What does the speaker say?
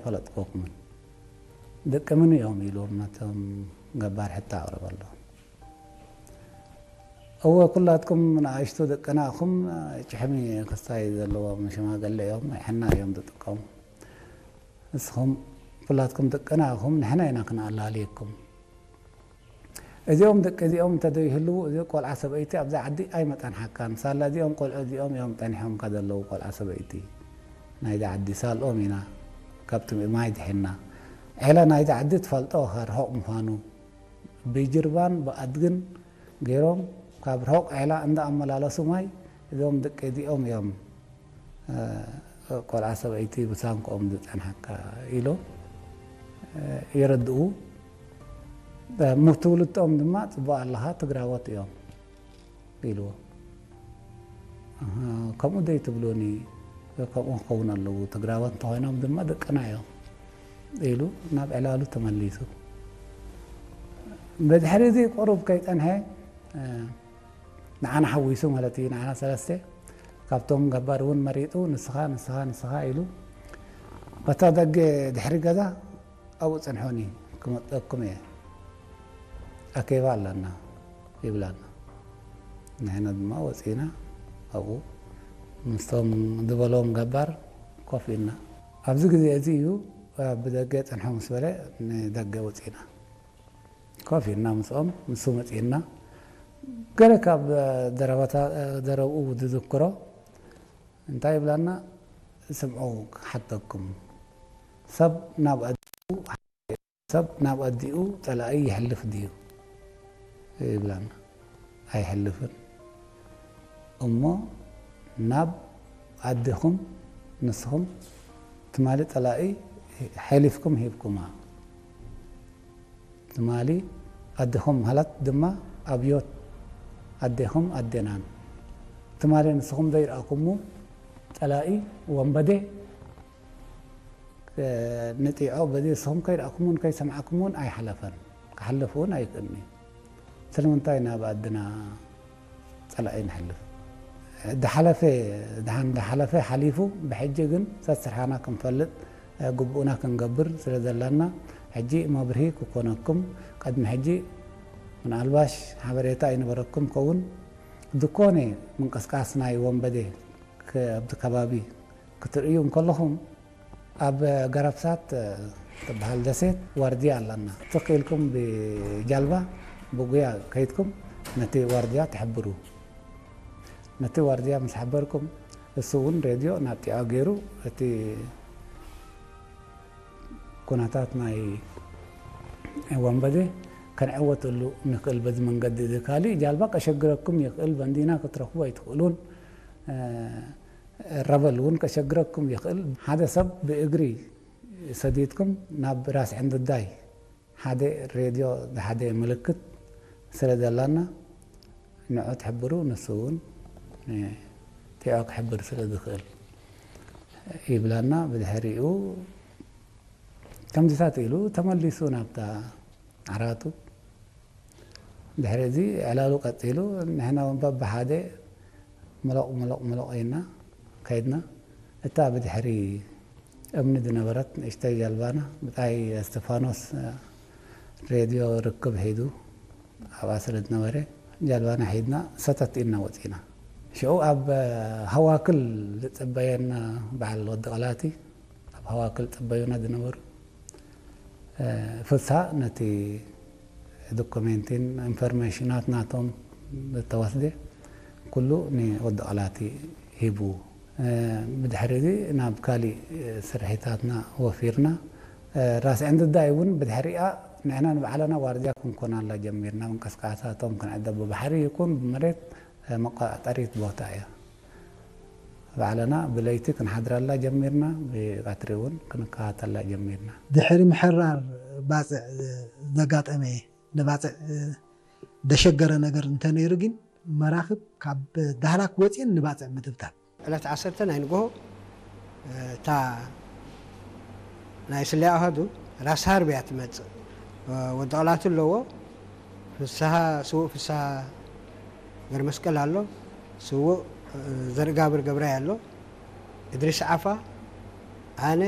ኣይፈለጥኩኹምን። ደቂ መን እዮም ኢሉ ነቶም ገባር ሕቶ ኣቕረበሎም። እወ፣ ኩላትኩም ንኣሽቱ ደቅና ኢኹም፣ ጭሕሚ ክስታይ ዘለዎም ሽማግለ እዮም፣ ሕና እዮም ዝጥቀሙ። ንስኹም ኩላትኩም ደቅና ኢኹም፣ ንሕና ኢና ክነኣላልየኩም። እዚኦም ደቂ እዚኦም እንተዘይህልዉ፣ እዚ ቆልዓ ሰበይቲ ኣብዚ ዓዲ ኣይመጠንሓካን። ሳላ እዚኦም ቆልዑ እዚኦም እዮም ጠኒሖምካ ዘለዉ፣ ቆልዓ ሰበይቲ ናይዚ ዓዲ ሳልኦም ኢና፣ ካብቲ ማይ ድሒና። ዔላ ናይዚ ዓዲ ትፈልጦ ኢኻ፣ ርሑቕ ምዃኑ። ብጅርባን ብኣድግን ገይሮም ካብ ርሑቕ ዔላ እንዳኣመላለሱ ማይ፣ እዞም ደቂ እዚኦም እዮም፣ እ፣ ቆልዓ ሰበይቲ ብሳንክኦም ዝጸንሓካ ኢሎም፣ እ፣ የረድኡ። እ፣ ምትውልድኦም ድማ ጽቡቕ ኣለኻ፣ ትግራዎት እዮም ኢልዎ። ኣሃ፣ ከምኡ ደይ ትብሉኒ? ከምኡ ክኸውን ኣለዉ። ትግራዎት እንተኾይኖም ድማ ደቅና እዮም ኢሉ ናብ ዕላሉ ተመሊሱ። ብድሕሪ እዚ ቁሩብ ከይጸንሐ፣ እ፣ ንዓና ሓዊሱ ማለት እዩ፣ ንዓና ሰለስተ፣ ካብቶም ገባር እውን መሪጡ፣ ንስኻ፣ ንስኻ፣ ንስኻ ኢሉ፣ በታ ደገ ድሕሪ ገዛ ኣብኡ ጽንሑኒ፣ ክመጠኩም እየ፣ ኣኬባ ኣለና ይብላና። ንሕና ድማ ወጺና ኣብኡ ምስቶም ዝበሎም ገባር ኮፍ ኢልና። ኣብዚ ግዜ እዚ እዩ፣ ብደገ ጽንሑ ምስ በለ ንደገ ወጺና። ኮፍ ኢልና ምስኦም፣ ንሱ መጺእና። ገለ ካብ ዘረባታ-፣ ዘረብኡ ዝዝክሮ እንታይ ይብላና? ስምዑ ክሓተኩም። ሰብ ናብ ኣዲኡ፣ ሰብ ናብ ኣዲኡ ጸላኢ የሕልፍ ድዩ? ይብላና። ኣይሕልፍን። እሞ ናብ ኣዴኹም ንስኹም ትማሊ ጸላኢ ሓሊፍኩም ሂብኩማ። ትማሊ ኣዴኹም ማለት ድማ ኣብዮት ኣዴኹም ኣዴናን። ትማሊ ንስኹም ዘይረኣኩሙ ጸላኢ ወንበዴ፣ እ፣ ንጢዖ በዚ ንስኹም ከይረኣኩሙን ከይሰማዕኩሙን ኣይሓለፈን። ክሓልፍ እውን ኣይክእልን እዩ። ስለምንታይ ናብ ኣድና ጸላኢ ንሕልፍ? ዝሓለፈ፣ ደሓን ዝሓለፈ ሓሊፉ፣ ብሕጂ ግን ሰስርሓና ክንፈልጥ፣ ግቡእና ክንገብር ስለ ዘላና፣ ሕጂ መብርሂ ክኮነኩም፣ ቅድሚ ሕጂ ምናልባሽ ሓበሬታ ኣይነበረኩም ከውን፣ ዝኾነ ምንቅስቃስ ናይ ወንበዴ ክ-፣ ኣብቲ ከባቢ ክትርእዩ እንከለኹም፣ ኣብ ገረብሳት ትበሃል ደሴት ዋርድያ ኣለና። ትኽ ኢልኩም ብጃልባ ብጉያ ከይድኩም ነቲ ዋርድያ ትሕብሩ። ነቲ ዋርድያ ምስ ሓበርኩም፣ እሱ እውን ሬድዮ ናብ ጢዖ ገይሩ እቲ ኩነታት ናይ ወንበዴ ከንዕወተሉ ንኽእል በዚ መንገዲ እዚ። ካሊእ ጃልባ ከሸግረኩም ይኽእል፣ በንዲና ክትረኽቡ ኣይትኽእሉን። ረበል እውን ከሸግረኩም ይኽእል። ሓደ ሰብ ብእግሪ ሰዲድኩም ናብ ራስ ዕንድዳይ ሓደ ሬድዮ፣ ሓደ ምልክት ስለ ዘላና ንዑ ትሕብሩ፣ ንሱ እውን ንቲዖ ክሕብር ስለ ዝኽእል ይብላና። ብድሕሪኡ ከምዚታት ኢሉ ተመሊሱ ናብታ ዓራቱ። ድሕሪ እዚ ዕላሉ ቀጺሉ፣ ንሕና እውን በብሓደ ምሎቕ፣ ምሎቕ፣ ምሎቕ ኢልና ከይድና። እታ ብድሕሪ እምኒ ዝነበረት ንእሽተይ ጃልባና፣ ብጻይ እስጢፋኖስ ሬድዮ ርክብ ሒዙ ኣብኣ ስለ ዝነበረ፣ ጃልባና ሒዝና ሰተት ኢልና ወጺና። ሽዑ ኣብ ሃዋክል ዝጽበየና በዓል ወዲ ቐላቲ፣ ኣብ ሃዋክል ጽበዩና ዝነበሩ፣ እ፣ ፍስሃ ነቲ ዶኩሜንቲን ኢንፎርሜሽናት ናቶም ዝተወስደ ኩሉ ንወዲ ቐላቲ ሂቡ። እ፣ ብድሕሪ እዚ ናብ ካሊእ ስርሒታትና ወፊርና። እ፣ ራስ ዕንድዳይ እውን ብድሕሪኣ ንሕና ንባዕልና ዋርድያ ክንኮናላ ጀሚርና። ምንቅስቃሳቶም ክንዕደብ ብባሕሪ ይኹን ብመሬት፣ እ፣ መቆጻጸሪት ቦታ እያ። ባዕልና ብለይቲ ክንሓድረላ ጀሚርና፣ ብቀትሪ እውን ክንከታተላ ጀሚርና። ድሕሪ ምሕራር ባጽዕ ዘጋጠመ፣ ንባጽዕ ዘሸገረ ነገር እንተነይሩ ግን፣ መራኽብ ካብ ዳህላክ ወጺኤን ንባጽዕ ምትብታብ። ዕለት ዓሰርተ ናይ ንግሆ፣ እታ ናይ ስለያ ኣሃዱ ራስ ሃርብ እያ ትመጽእ። ወዲ ቐላቱ ኣለዎ፣ ፍስሃ፣ ስዉእ ፍስሃ ገረመስቀል ኣሎ፣ ስዉእ ዘርእጋብር ገብራይ ኣሎ፣ እድሪስ ዓፋ፣ ኣነ፣